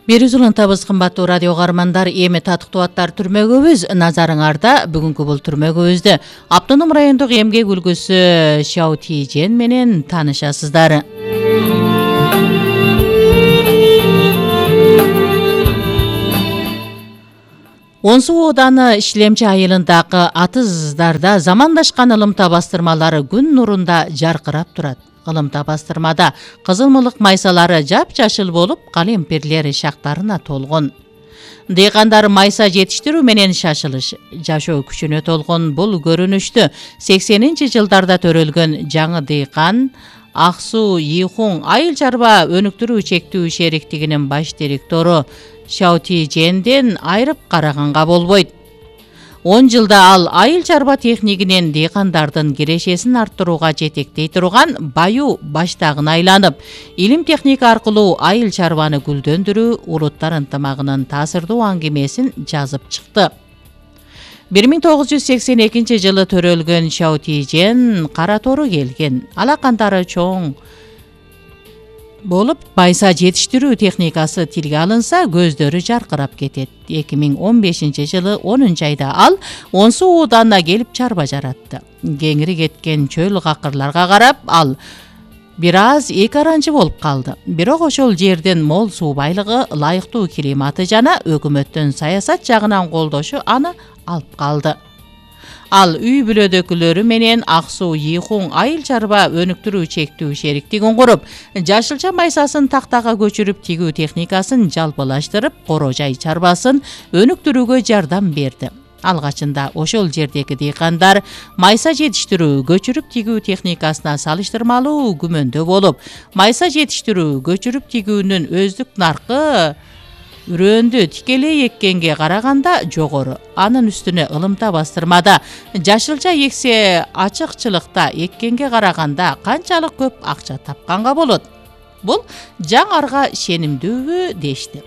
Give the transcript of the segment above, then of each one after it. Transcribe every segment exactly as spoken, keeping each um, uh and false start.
Бир үз улантабыз кымбаттуу радио каармандар, эми татыктуу аттар түрмөгүбүз назарыңарда. Бүгүнкү бул түрмөгүбүздө Автоном райондук эмгек үлгүсү Шао Тижен менен таанышасыздар. он суу ооданы Ишлемчи айылындагы атыздарда замандашкан ылымта бастырмалары күн нурунда жаркырап турат. Ылымта бастырмада кызылмылык майсалары жапжашыл болуп, калемпирлер шактарына толгон. Дыйкандар майса жетиштирүү менен шашылыш, жашоо күчүнө толгон бул көрүнүштү сексенинчи жылдарда төрөлгөн жаңы дыйкан Аксуу Ийхун айыл чарба өнүктүрүү чектүү шериктигинин баш директору Шао Тиженден айрып караганга болбойт. он жылда ал айыл чарба техникинин дыйкандардын кирешесин арттырууга жетектей турган баю баштагына айланып, илим техника аркылуу айыл чарбаны гүлдөндүрүү улуттар ынтымагынын таасирдуу аңгемесин жазып чыкты. бир миң тогуз жүз сексен экинчи жылы төрөлгөн Шао Тижен кара тору келген. Алакандары чоң болуп, майса жетиштирүү техникасы тилге алынса, көздөрү жаркырап кетет. эки миң он бешинчи жылы онунчу айда ал он суу ооданына келип чарба жаратты. Кеңири кеткен чөл какырларга карап, ал бир аз эки аранчы болуп калды. Бирок ошол жердин мол суу байлыгы, ылайыктуу климаты жана өкмөттүн саясат жагынан колдошу аны алып калды. Ал үй бүлөдөгүлөрү менен Аксуу Ийхун айыл чарба өнүктүрүү чектүү шериктигин куруп, жашылча майсасын тактага көчүрүп, тигүү техникасын жалпылаштырып, коро жай чарбасын өнүктүрүүгө жардам берди. Алгачында ошол жердеги дыйкандар майса жетиштирүү, көчүрүп тигүү техникасына салыштырмалуу күмөндө болуп, майса жетиштирүү, көчүрүп тигүүнүн өздүк наркы үрөндү тикелей эккенге караганда жогору. Анын үстүнө ылымта бастырмада жашылча эксе ачыкчылыкта эккенге караганда канчалык көп акча тапканга болот. Бул жаңарга шенимдүүбү дешти.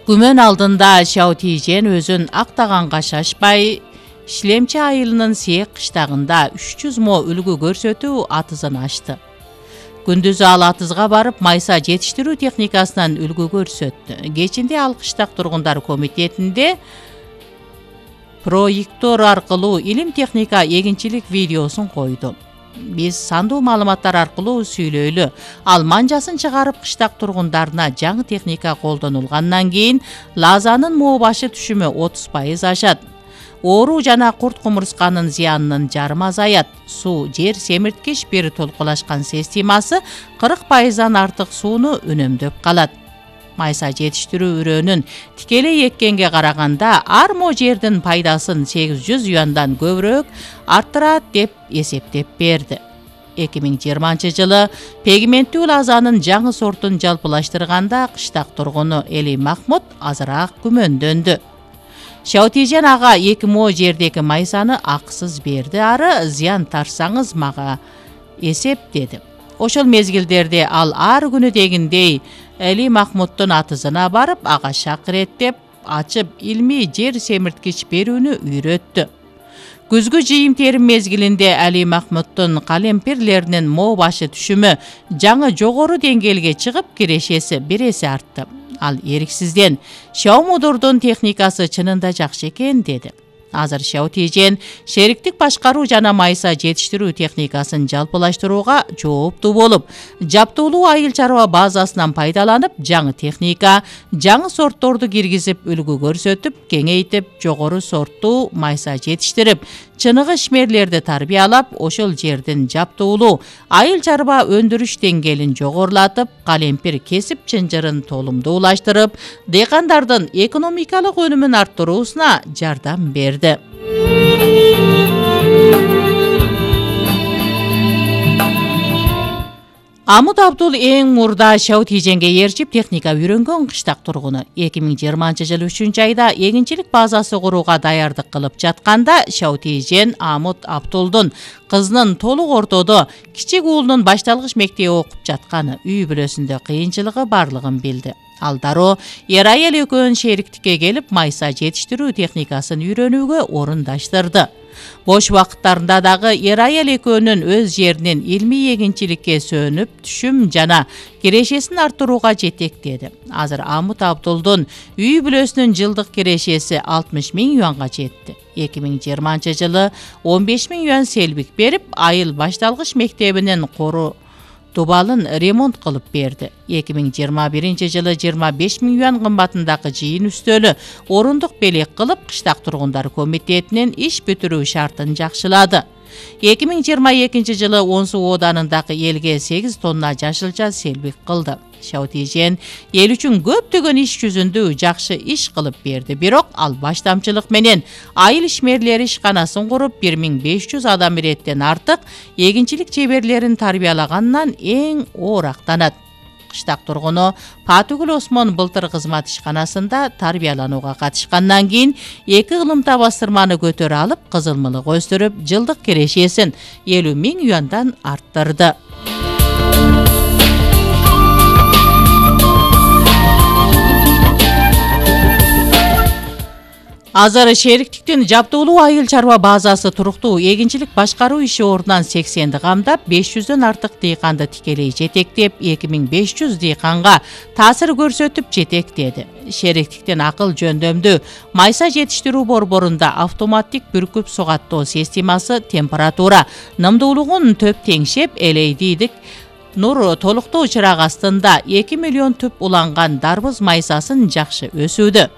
Күмөн алдында Шао Тижен өзүн актаганга шашпай, Ишлемчи айылынын Сээк кыштагында үч жүз мо үлгү көрсөтүү атызын ачты. Күндүзү ал атызга барып, майса жетиштирүү техникасынан үлгү көрсөттү. Кечинде ал кыштак тургундар комитетинде проектор аркылуу илим техника эгинчилик видеосун койду. Биз сандуу маалыматтар аркылуу сүйлөйлү. Ал манжасын чыгарып, кыштак тургундарына жаңы техника колдонулгандан кийин лазанын моо башы түшүмү отуз пайыз ашат. Оору жана курт кумурсканын зыянынын жарым азаят. Суу жер семирткич бир толкулашкан системасы кырк пайыздан артык сууну үнөмдөп калат. Майса жетиштирүү үрөөнүн тикелей эккенге караганда ар мо жердин пайдасын сегиз жүз юандан көбүрөөк арттырат деп эсептеп берди. эки миң жыйырманчы жылы пигменттүү лазанын жаңы сортун жалпылаштырганда кыштак тургуну Эли Махмут азыраак күмөндөндү. Шао Тижен ага эки мо жердеги майсаны акысыз берди, ары зыян тарсаңыз мага эсеп деди. Ошол мезгилдерде ал ар күнү дегиндей Эли Махмуттун атызына барып, ага шакыреттеп ачып илмий жер семирткич берүүнү үйрөттү. Күзгү жыйым терим мезгилинде Эли Махмуттун калемпирлеринин мо башы түшүмү жаңы жогору деңгээлге чыгып, кирешеси бир эсе артты. Ал эриксизден Шао мудурдун техникасы чынында жакшы экен деди. Азыр Шао Тижен шериктик башкаруу жана майса жетиштирүү техникасын жалпылаштырууга жооптуу болуп, жаптуулуу айыл чарба базасынан пайдаланып, жаңы техника, жаңы сортторду киргизип, үлгү көрсөтүп, кеңейтип, жогору сорттуу майса жетиштирип, чыныгы ишмерлерди тарбиялап, ошол жердин жаптуулуу айыл чарба өндүрүш деңгээлин жогорулатып, калемпир кесип чынжырын толумдуулаштырып, дыйкандардын экономикалык өнүмүн арттыруусуна жардам берди. Амут Абдул эң мурда Шао Тиженге ээрчип техника үйрөнгөн кыштак тургуну. эки миң жыйырманчы жылы үчүнчү айда эгинчилик базасы курууга даярдык кылып жатканда Шао Тижен Амут Абдулдун кызынын толук ортодо кичик уулунун башталгыч мектепте окуп жатканы, үй бүлөсүндө кыйынчылыгы барлыгын билди. Ал дароо эр айыл экөөнүн шериктикке келип, майса жетиштирүү техникасын үйрөнүүгө орундаштырды. Бош убакыттарында дагы эр аял экөөнүн өз жеринин илмий эгинчиликке сөнүп, түшүм жана кирешесин арттырууга жетектеди. Азыр Амут Абдулдун үй бүлөсүнүн жылдык кирешеси алтымыш миң юанга жетти. эки миң жыйырманчы жылы он беш миң юан селбик берип, айыл башталгыч мектебинин кору дубалын ремонт кылып берди. эки миң жыйырма биринчи жылы жыйырма беш миң юан кымбатындагы жыйын үстөлү орундук белек кылып, кыштак тургундар комитетинин иш бүтүрүү шартын жакшылады. эки миң жыйырма экинчи жылы он суу ооданындагы элге сегиз тонна жашылча селбик кылды. Шаутижен эл үчүн көптөгөн иш жүзүндө жакшы иш кылып берди. Бирок ал баштамчылык менен айыл ишмерлери ишканасын куруп, бир миң беш жүз адам иреттен артык эгинчилик чеберлерин тарбиялагандан эң оорактанат. Кыштак тургуну Патыгүл Осмон былтыр кызмат ишканасында тарбияланууга катышкандан кийин эки ылымта бастырманы көтөрө алып, кызылмылык өстүрүп, жылдык кирешесин элүү миң юандан арттырды. Азыр шериктиктин жаптуулуу айыл чарба базасы туруктуу эгинчилик башкаруу иши ордунан сексенди камдап, беш жүздөн артык дыйканды тикелей жетектеп, эки миң беш жүз дыйканга таасир көрсөтүп жетектеди. Шериктиктин акыл жөндөмдүү майса жетиштирүү борборунда автоматтик бүркүп сугаттоо системасы температура, нымдуулугун төп теңшеп, элейдийдик нур толуктоо чырак астында эки миллион түп уланган дарбыз майсасын жакшы өсүүдө.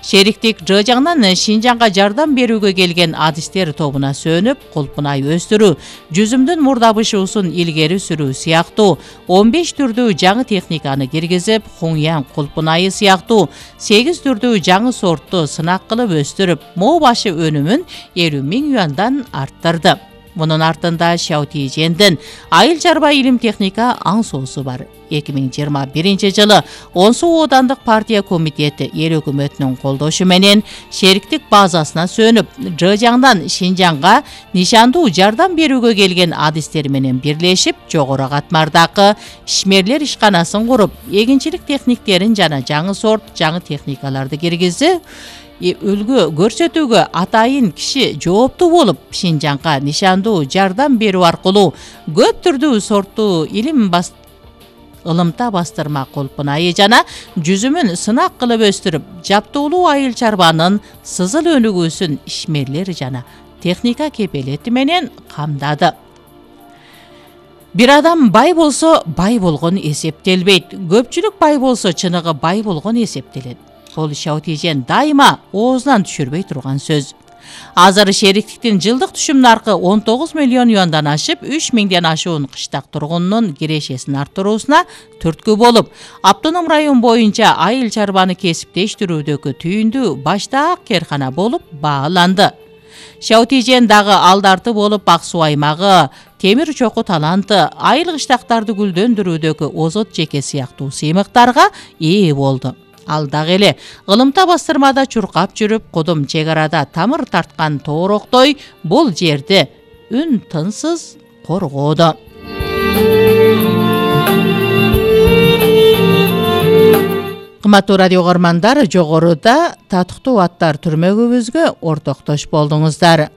Шериктик Жыжаңнан Шинжаңга жардам берүүгө келген адистер тобуна сөнүп, кулпунай өстүрүү, жүзүмдүн мурдабышуусун илгери сүрүү сыяктуу он беш түрдүү жаңы техниканы киргизип, Хуньян кулпунайы сыяктуу сегиз түрдүү жаңы сортту сынак кылып өстүрүп, моо башы өнүмүн элүү миң юандан арттырды. Мунун артында Шаутижендин айыл чарба илим техника аңсоосу бар. эки миң жыйырма биринчи жылы он суу оодандык партия комитети эл өкмөтүнүн колдошу менен шериктик базасына сөнүп, Жыжаңдан Шинжаңга нишандуу жардам берүүгө келген адистер менен бирлешип, жогору катмардагы ишмерлер ишканасын куруп, эгинчилик техниктерин жана жаңы сорт, жаңы техникаларды киргизип, үлгү көрсөтүүгө атайын киши жооптуу болуп, Шинжаңга нишандуу жардам берүү аркылуу көп түрдүү сорттуу илим бас ылымта бастырма кулпунайы жана жүзүмүн сынак кылып өстүрүп, жаптуулуу айыл чарбанын сызыл өнүгүүсүн ишмерлер жана техника кепелети менен камдады. Бир адам бай болсо, бай болгон эсептелбейт. Көпчүлүк бай болсо, чыныгы бай болгон эсептелет. Бул Шаутижен дайыма оозунан түшүрбөй турган сөз. Азыр шериктиктин жылдык түшүм наркы он тогуз миллион юандан ашып, үч миңден ашуун кыштак тургунунун кирешесин арттыруусуна түрткү болуп, Автоном район боюнча айыл чарбаны кесиптештирүүдөгү түйүндүү баштаак керкана болуп бааланды. Шаутижен дагы алдарты болуп, Ак суу аймагы, темир чоку таланты, айыл кыштактарды гүлдөндүрүүдөгү озот жеке сыяктуу сыймыктарга ээ болду. Ал дагы эле ылымта бастырмада чуркап жүрүп, кудум чек арада тамыр тарткан тоороктой бул жерди үн тынсыз коргоодо. Кымбаттуу радио угармандар, жогоруда татыктуу аттар түрмөгүбүзгө ортоктош болдуңуздар.